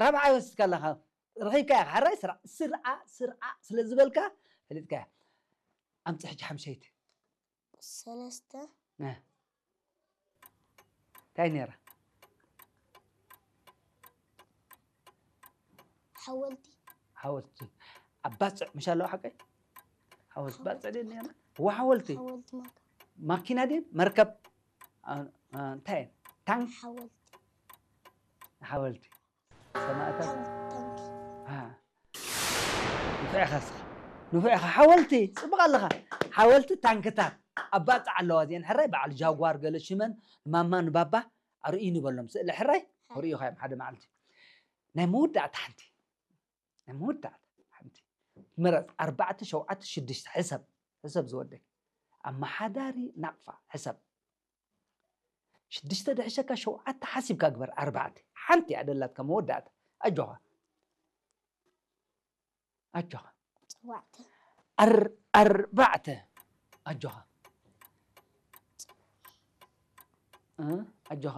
ራብዓይ ወሲድካ ኣለኻ። ረኺብካያ። ሓራይ ስራዕ፣ ስርዓ፣ ስርዓ ስለ ዝበልካ ፈሊጥካያ። ኣምጽእ ሕጂ ሓምሸይቲ። ሰለስተ እ። እንታይ ነይራ? ሓወልቲ ሓወልቲ። ኣብ ባጽዕ ምሽ ኣለዋ ሓቀይ? ሓወልቲ ባጽዕ ድየን ነይራ? እዋ ሓወልቲ። ሓወልቲ ማካ ማኪና ድየን? መርከብ? አ- አ- እንታይ እየን? ታንክ? ሓወልቲ ሓወልቲ። ሰማእታት። ታንክ ታንክ አ። ንፉዕ ኢኻ እስኻ። ንፉዕ ኢኻ። ሓወልቲ። ጽቡቕ ኣለኻ። ሓወልቲ ታንክታት። ኣብ ባጽዕ ኣለዋ እዚአን። ሕራይ በዓል ጃጓር ገለ ሽመን ማማ ንባባ ኣርእዩ ንበሎም። ስእሊ ሕራይ ክርእዩኻ እዮም ሓደ መዓልቲ። ናይ መወዳእታ ሓንቲ። ናይ መወዳእታ ሓንቲ። ምረጽ። ኣርባዕተ፣ ሸውዓተ፣ ሽዱሽተ። ሕሰብ። ሕሰብ ዝወደይ። ኣመሓዳሪ ናቕፋ። ሕሰብ። ሽዱሽተ ድሕሸካ ሸውዓተ ሓሲብካ ግበር። ኣርባዕተ። ሓንቲ እያ ደላትካ መወዳእታ። ኣጆኻ። ኣጆኻ። ሸውዓተ ኣር-፣ ኣርባዕተ። ኣጆኻ። እ? ኣጆኻ።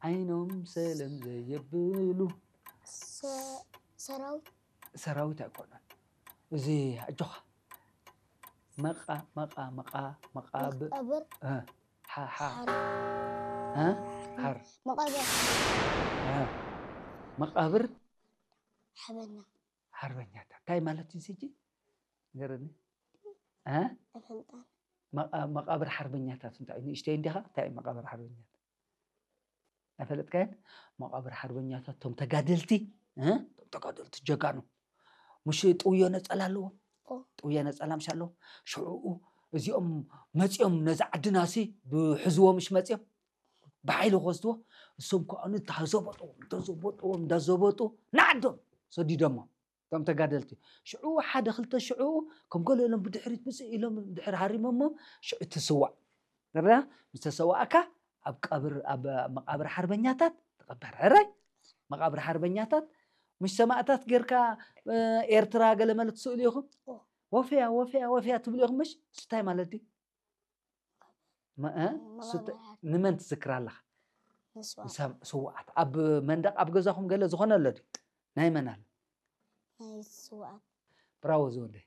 ዓይኖም ሰለም ዘየብሉ ሰ- ሰራዊት ሰራዊት ኣይኮነን። እዚ ኣጆኻ። መቓ-፣ መቓ-፣ መቓ-፣ መቓብ-፣ መቃብር እ፣ ሓ-፣ ሓ-፣ ሓር እ? ሓር-፣ መቃብር እ፣ መቓብር ሓበኛ ሓርበኛታት። እንታይ ማለት እዩ እዚ ሕጂ? ንገረኒ። እ? ኣይፈልጣን መቓ-፣ መቓብር ሓርበኛታት እንታይ እዩ? ንእሽተይ እንዲኻ? እንታይ እዩ መቓብር ሓርበኛታት? ኣይፈለጥካዮን? መቓብር ሓርበኛታት፣ እቶም ተጋደልቲ፣ እ? እቶም ተጋደልቲ ጀጋኑ። ምሽ ጥውዮ ነጸላ ኣለዎም። ኦ። ጥውዮ ነጸላ ምሽ ኣለዎም። ሽዑኡ እዚኦም መጺኦም ነዚ ዓድናሲ ብሕዝዎ ምሽ መጺኦም ብሓይሊ ክወስድዎ፣ እሶም ከኣ እንዳዘበጡ፣ እንዳዘበጡ፣ እንዳዘበጡ ንዓዶም ሰዲዶሞ። እቶም ተጋደልቲ። ሽዑ ሓደ ክልተ ሽዑ ከም ገለ ኢሎም ብድሕሪት ብጽእ ኢሎም ድሕሪ ሃሪሞሞ ሽዑ ትስዋእ። ንርኣ፣ ምስ ተሰዋእካ ኣብ ቀብር፣ ኣብ መቓብር ሓርበኛታት ትቐበር። ሕራይ? መቓብር ሓርበኛታት፣ ምሽ ሰማእታት ጌርካ፣ እ፣ ኤርትራ ገለ መለ ትስእሉ ኢኹም? ኦ። ወፍያ፣ ወፍያ፣ ወፍያ ትብሉ ኢኹም ምሽ? እሱ እንታይ ማለት ድዩ? መ-፣ እ? እሱ ተ-፣ መቓብር ሓር- ንመን ትዝክር ኣለኻ? መስዋእቲ ንሰም-፣ ስውኣት። ኣብ መንደቕ ኣብ ገዛኹም ገለ ዝኾነ ኣሎ ድዩ? ናይ መን ኣሎ? ናይ ስውኣት ብራቮ ዝወደይ።